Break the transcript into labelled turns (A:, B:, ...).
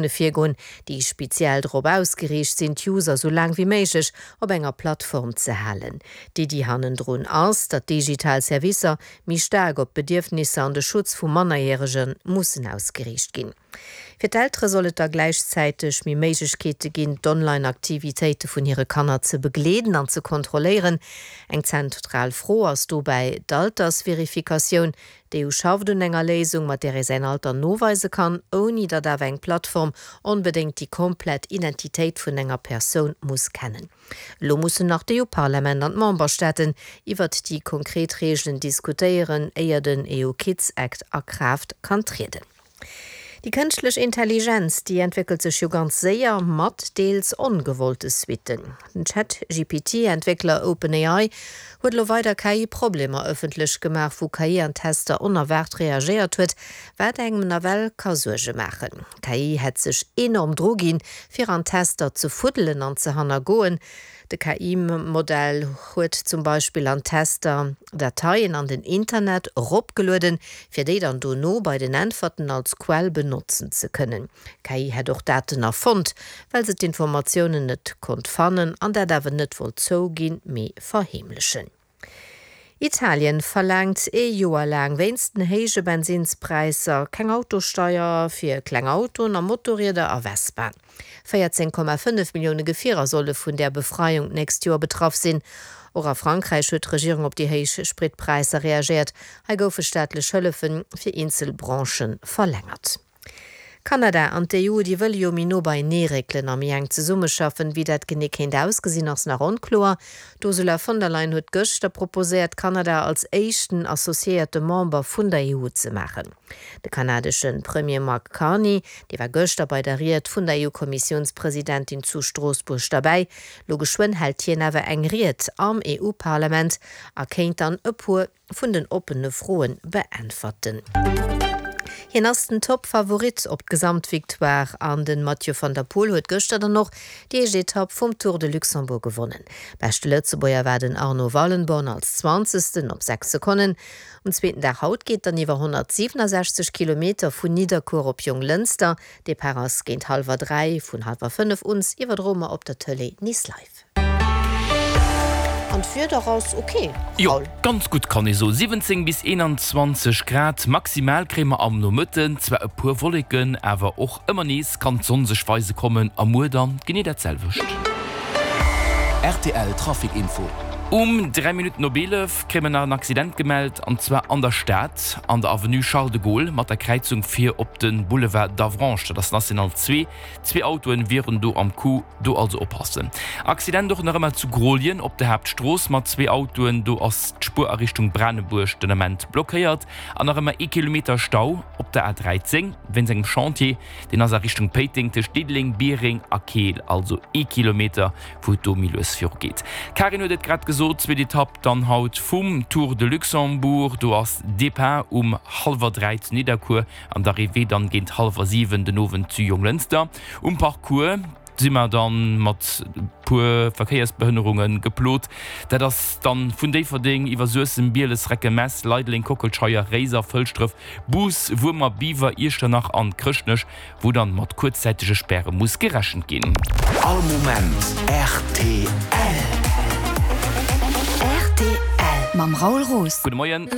A: Virgoen, déi speziell drop ausgeriicht sinn, d'User sou laang wéi méiglech op enger Plattform ze halen. D'Iddi hannendrun ass, datt digital Servicer méi staark op d'Bedierfnisser an de Schutz vu Mannerjärege mussen ausgeriicht ginn. Fir d'Eltere soll et da gläichzäiteg méi Méiglechkeete ginn, d'Online-Aktivitéite vun hire Kanner ze begleeden an ze kontrolléieren. Eng zentral Fro ass dobäi d'Altersverifikatioun, D'EU schafft un enger Léisung, mat där ee säin Alter noweise kann, ouni datt awer eng Plattform onbedéngt déi komplett Identitéit vun enger Persoun muss kennen. Elo mussen nach d'EU-Parlament an d'Memberstaaten iwwert déi konkret Reegelen diskutéieren, éier den EU Kids Act a Kraaft kann trieden. Déi kënschtlech Intelligenz, déi entwéckelt sech jo ganz séier, mat deels ongewollte Suitten. Den Chat-GPT-Entwéckler OpenAI huet elo weider KI-Problemer ëffentlech gemaach, wou KI an Tester onerwaart reagéiert huet, wat engem nawell ka Suerge maachen. D'KI hätt sech enorm druginn, fir an Tester ze fuddelen an ze hannergoen. De KI-Modell huet zum Beispill an Tester Dateien an den Internet eropgelueden, fir déi dann dono bei den Äntwerten als Quell benotzen ze kënnen. D'KI hätt och Daten erfonnt, well se d'Informatiounen net konnt fannen an dat awer net wollt zouginn, mee verheemlechen. Italien verlaangt ee Joer laang wéinst den héije Bensinnspräisser keng Autosteier fir kleng Autoen a Motorrieder a Vespaen. 14,5 Millioune Gefierer solle vun där Befreiung d'nächst Joer betraff sinn. Och a Frankräich huet d'Regierung op déi héich Spritpräisser reagéiert. Hei goufe staatlech Hëllefe fir eenzel Branchë verlängert. Kanada an d'EU, déi wëlle jo méi no beienee réckelen a méi enk zesummeschaffen. Wéi dat genee kéint ausgesinn, ass nach onkloer. D'Ursula von der Leyen huet gëschter proposéiert, Kanada als éischten associéierte Member vun der EU ze maachen. De kanadesche Premier Mark Carney, dee war gëschter bei der Ried vun der EU-Kommissiounspresidentin zu Stroossbuerg derbäi. Lo geschwënn hält hien awer eng Ried am EU-Parlament a kéint dann e puer vun den oppene Froen beäntwerten. Hien ass den Top-Favorit op d'Gesamtvictoire an den Mathieu van der Poel huet gëschter dann och déi éischt Etapp vum Tour de Luxembourg gewonnen. Beschte Lëtzebuerger war den Arno Wallenborn als Zwanzegsten op 6 Sekonnen. Um zweeten Dag haut geet dann iwwer 167 Kilometer vun Nidderkuer op Jonglënster. Depart ass géint hallwer 3, vun hallwer 5 uns iwwerdroe mer op der Tëlee nees live. An d'Wieder ass ok,
B: Jo, Raoul? ganz gutt kann ee soen. 17 bis 21 Grad maximal kréie mer am Nomëtten. Zwar e puer Wolleken, awer och ëmmer nees kann d'Sonn sech weise kommen a muer dann genee dat selwecht.
C: Rtl Trafic Info.
B: Um 3 Minutten op 11 kréie mer nach en Accident gemellt, an zwar an der Stad, an der Avenue Charles de Gaulle mat der Kräizung fir op de Boulevard d'Avranches, dat ass National 2. Zwee Autoen wieren do am Coup, do also oppassen. Accident och nach ëmmer zu Grooljen op der Haaptstrooss mat zwee Autoen, do ass d'Spuer a Richtung Branebuerg den Ament blockéiert. An nach ëmmer ee Kilometer Stau op der A13 wéinst engem Chantier, deen ass a Richtung Péiteng tëscht Diddeleng, Biereng a Keel, also ee Kilometer wou et do méi lues viru geet. D'Karin huet et grad gesot, zweet Etapp dann haut vum Tour de Luxembourg, do ass Depart um hallwer 3 zu Nidderkuer. An d'Arrivée dann géint hallwer 7 den Owend zu Jonglënster. Um Parcours si mer dann mat puer Verkéiersbehënnerungen geplot. Dat ass dann vun Déifferdeng iwwer Suessem, Bieles, Recken, Mess, Leideleng, Kockelscheier, Réiser, Fëlschdref, Bus, Wuermer, Biwer, Iechternach an Chrëschtnech, wou dann mat kuerzzäitege Späre muss gerechent ginn.
C: All Moment rtl.
D: Rtl mam Raoul Roos.
B: Gudde Moien.